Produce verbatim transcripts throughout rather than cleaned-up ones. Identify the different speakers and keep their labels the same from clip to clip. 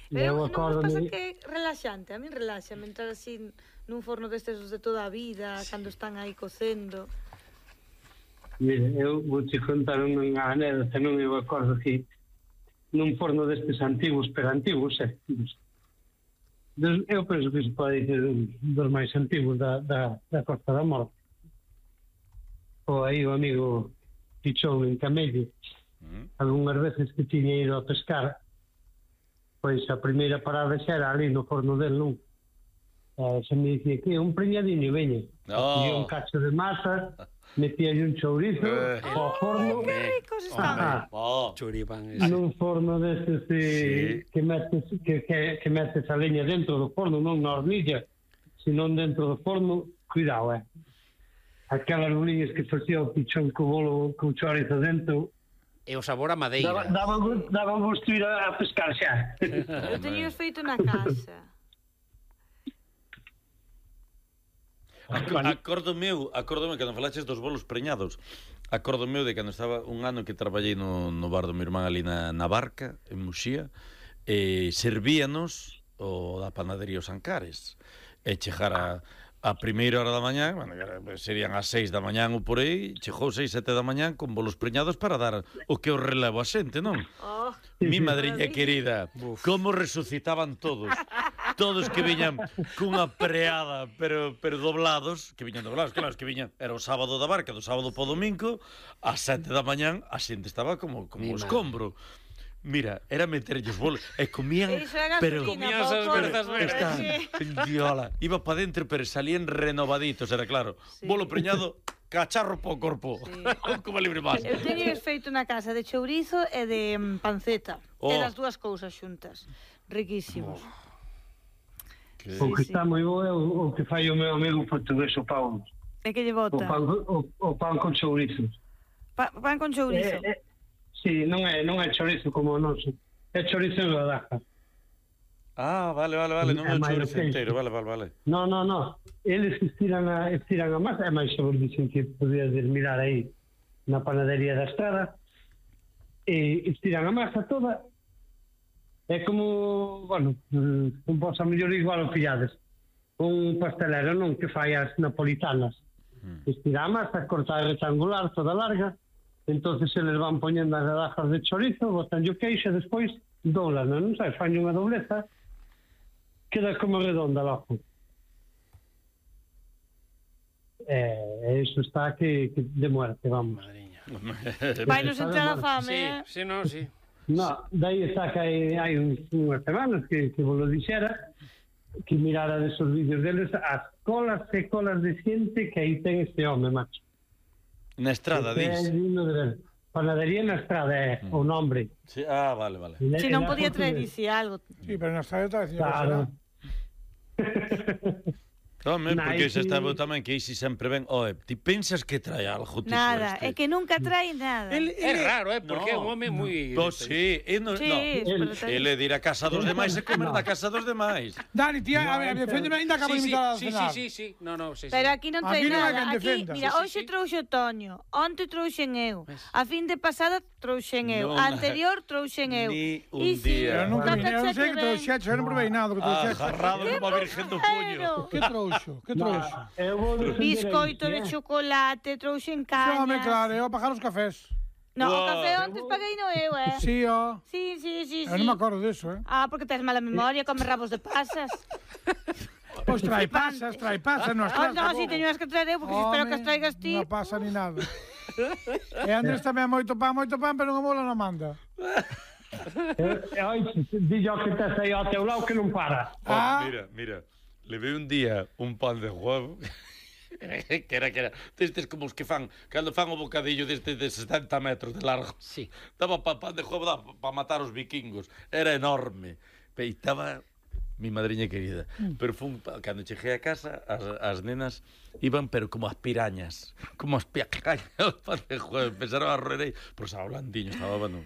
Speaker 1: Pero non vos pasa que é relaxante? A mí relaxa, entrar así nun forno destes de toda a vida, cando están aí cocendo.
Speaker 2: Mira, eu vou te contar unha anécdota, non eu acordo que nun forno destes antigos, pero antigos, eh? Eu penso que se pode dizer dos máis antigos da, da, da Costa da Morte. O aí o amigo Pichón en Camello, mm. algunhas veces que tiña ido a pescar, pois a primeira parada xa era ali no forno del, non? Uh, se me dicía que un preñadiño, veña. Oh. E un cacho de masa, metía un chourizo eh. ao forno.
Speaker 1: Oh, que ricos están.
Speaker 3: Oh. Churipán.
Speaker 2: Nun forno destes de, sí. que, metes, que, que, que metes a leña dentro do forno, non na hornilla, senón dentro do forno, cuidado, eh. Aquelas boliñas que facía o Pichón co bolo, co chourizo dentro.
Speaker 3: E o sabor a madeira.
Speaker 2: Daban daba vos ir a pescar xa.
Speaker 1: Eu teño feito na casa.
Speaker 4: Acordo meu, acordo meu, cando falaches dos bolos preñados, acordo meu de cando estaba un ano que traballei no, no bar do meu irmán ali na, na Barca, en Muxía, e servíanos o da panadería Os Ancares, e chegara a primeira hora da mañán, bueno, serían as seis da mañán ou por aí, chegou seis, sete da mañán con bolos preñados para dar o que os relevo a xente, non? Oh, mi madriña querida, uf, como resucitaban todos. Todos que viñan cunha preada, pero pero doblados, que viñan doblados, claro, que viñan, era o sábado da Barca, do sábado po domingo, ás sete da mañán, a xente estaba como como o escombro. Mira, era meterlle os bolos e comían, pero
Speaker 3: comían esas berzas verdes.
Speaker 4: Diola, iba para dentro, pero salían renovaditos, era claro. Sí. Bolo preñado, cacharro po corpo. Sí. Como libre más.
Speaker 1: Eu teño feito na casa de chourizo e de panceta. Oh. E das dúas cousas xuntas. Riquísimos. Oh.
Speaker 2: Que... O que sí, está sí. moi bo é o, o que fai o meu amigo portugués, o pão.
Speaker 1: E que lle bota?
Speaker 2: O pan, o, o pan con chourizos.
Speaker 1: Pa, pan con chourizo?
Speaker 2: É, é, sí, non é, non é chorizo como o noso. É chorizo en rodaja.
Speaker 4: Ah, vale, vale, vale. Non é, é chorizo inteiro, vale, vale, vale.
Speaker 2: No, no, no. Eles estiran a, estiran a masa. É máis sabor, dicen que podías mirar aí na panadería da Estrada. E estiran a masa toda. É como, bueno, un vos a mellor igual o pillades. Un pastelero, non, que fai as napolitanas. Mm. Estira a masa, corta rectangular, toda larga. Entonces se les van poñendo as rodajas de chorizo, botan o queixo, despois doblan, non sei, fan unha dobleza, queda como redonda logo. Eh, eso está que, que de muerte, vamos.
Speaker 1: Vai nos entrar a fame,
Speaker 3: sí,
Speaker 1: eh?
Speaker 3: Sí, no, sí.
Speaker 2: No, daí está que hai, hai unhas semanas que, que vos lo dixera, que mirara desos vídeos deles as colas e colas de xente que aí ten este home, macho.
Speaker 4: Na Estrada, dis?
Speaker 2: Panadería na Estrada, é mm. o nombre.
Speaker 4: Sí, ah, vale, vale.
Speaker 1: Si non podía traer dixi algo.
Speaker 5: Sí, pero na Estrada está dicindo
Speaker 2: claro.
Speaker 4: Home, porque se está tamén que Isi sempre ven. Oe, ti pensas que trae algo?
Speaker 1: Nada, é que nunca trae nada.
Speaker 3: El, el, é raro, eh, porque é no, un home moi...
Speaker 4: Pois sí, e no, sí, no. Ele de ir a casa dos demais e comer da casa dos demais.
Speaker 5: Dani, tía, no, a ver, deféndeme, ainda acabo de invitar a cenar.
Speaker 3: Sí, sí, sí, no, no, sí, sí.
Speaker 1: Pero aquí non trae
Speaker 5: aquí
Speaker 1: nada.
Speaker 5: No
Speaker 1: aquí, mira,
Speaker 5: sí,
Speaker 1: hoxe
Speaker 5: sí, sí.
Speaker 1: trouxe Toño, onte trouxen eu, a fin de pasada trouxen eu, a anterior trouxen eu.
Speaker 4: Ni un día.
Speaker 5: Pero nunca vi, eu non sei que trouxeche, eu non provei nada que trouxeche.
Speaker 4: Agarrado como a virgen do puño.
Speaker 5: Que trouxo? Que trouxo?
Speaker 1: Biscoito de chocolate, trouxen cañas.
Speaker 5: Home, claro, eu a pagar os cafés.
Speaker 1: No, o café antes paguei no eu, eh?
Speaker 5: Sí, ó.
Speaker 1: Sí, sí, sí, sí.
Speaker 5: Eu non me acordo disso, eh?
Speaker 1: Ah, porque tes mala memoria, come rabos de pasas.
Speaker 5: Pois trae pasas, trae pasas, non as
Speaker 1: traes. Oh, no, si teño as que traer eu, porque espero que as traigas ti.
Speaker 5: Non pasa ni nada. E Andrés tamén moito pan, moito pan, pero non mola non manda.
Speaker 2: Oi, dillo que tes aí ao teu lado que non para.
Speaker 4: Ah, mira, mira. Levei un día un pan de huevo que era, que era destes como os que fan cando fan o bocadillo deste de setenta metros de largo.
Speaker 3: Sí.
Speaker 4: Daba pa pan de huevo para pa matar os vikingos. Era enorme. E estaba mi madriña querida. Mm. Pero fun, cando cheguei a casa, as, as nenas iban, pero como as pirañas. Como as piacañas o pan de huevo. Pensaron a roerei. Pero estaba blandiño, estaba, bueno,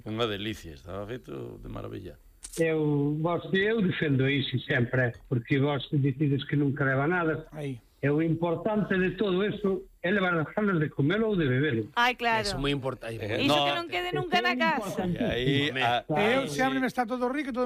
Speaker 4: unha delicia. Estaba feito de maravilla.
Speaker 2: Eu, vos, eu defendo iso sempre, porque vos decides que nunca leva nada.
Speaker 5: Aí.
Speaker 2: E o importante de todo eso é levar as ganas de comelo ou de bebelo.
Speaker 1: Ai, claro.
Speaker 3: Eso é moi importante.
Speaker 1: Eh, Iso no, que non quede nunca na casa.
Speaker 4: Aí,
Speaker 5: a, eu, se abre está todo rico, todo